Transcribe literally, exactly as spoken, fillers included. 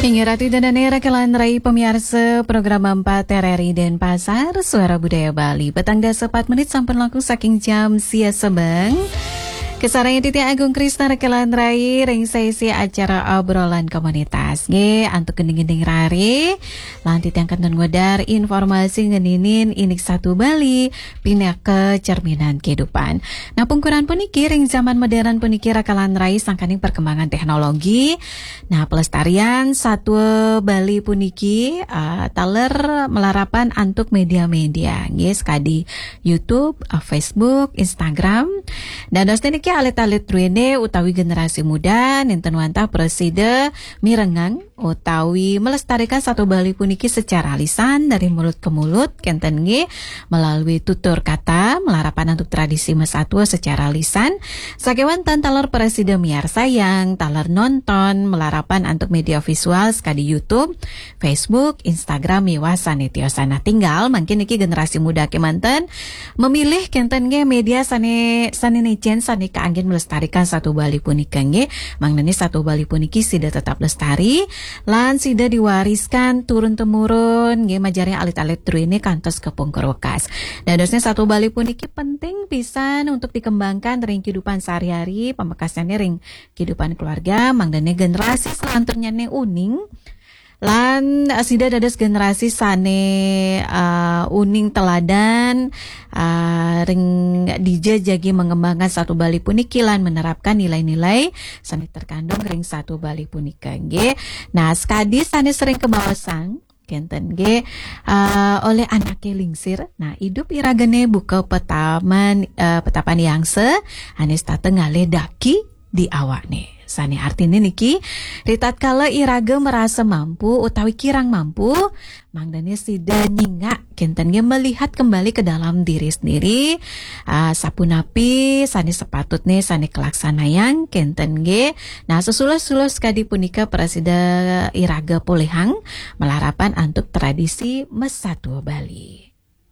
Inggih ratu ida dané, rakelan rai pamiarsa program empat R R I Denpasar, Suara Budaya Bali. Petang dasa empat menit sampun langkung saking jam sia sebeng. Kasarengin titiang Agung Krisna, rakelan rai, ring sesi acara obrolan komunitas. Nggih, antuk gending-gending rare, lan titiang kantun ngudar informasi ngeninin indik satua Bali, pinaka cerminan kehidupan. Nah, pungkuran puniki ring zaman modern puniki rakelan rai sangkaning perkembangan teknologi. Nah, pelestarian satua Bali puniki, ah, taler malarapan antuk media-media, nggih, sakadi YouTube, ah, Facebook, Instagram. Dados niki alit-alit druéné utawi generasi muda nénten wantah prasida mirengang utawi melestarikan satua Bali puniki secara lisan dari mulut ke mulut, kénten nggih, melalui tutur kata, malarapan antuk tradisi masatua secara lisan, sakéwanten taler prasida miarsayang, taler nonton, malarapan antuk media visual sakadi YouTube, Facebook, Instagram, miwah sané tiosan. Nah, tinggal mangkin niki generasi muda kémanten memilih kénten nggih media sané, sané nénten, sané kaanggén melestarikan satua Bali punika nggih. Mangdané satua Bali puniki sida tetap lestari, lan sida diwariskan turun temurun nggih, majeng ring alit-alit druéné kantos ka pungkur wekas. Dadosné satua Bali puniki penting pisan untuk dikembangkan ring kehidupan sehari-hari, pamekasnyané ring kehidupan keluarga, mangdané generasi selanturnyané uning, lan, eh, sida dados generasi sané, eh, uning teladan, eh, ring dija jagi mengembangkan satua Bali puniki lan menerapkan nilai-nilai sané terkandung ring satua Bali punika nggih. Nah, sakadi sané sering kabaosang, kénten nggih, eh, olih anaké lingsir. Nah, idup iragané buka petaman, eh, petapan yangsa, ané setata ngalih daki di awakné. Sané artiné niki, ritatkala iraga merasa mampu utawi kirang mampu, mangdané sida nyingak, kénten nggih, melihat kembali ke dalam diri sendiri, ah, sapunapi sané sepatutné sané kalaksanayang, kénten nggih. Nah, sesuluh-suluh sakadi punika prasida iraga polihang malarapan antuk tradisi masatua Bali.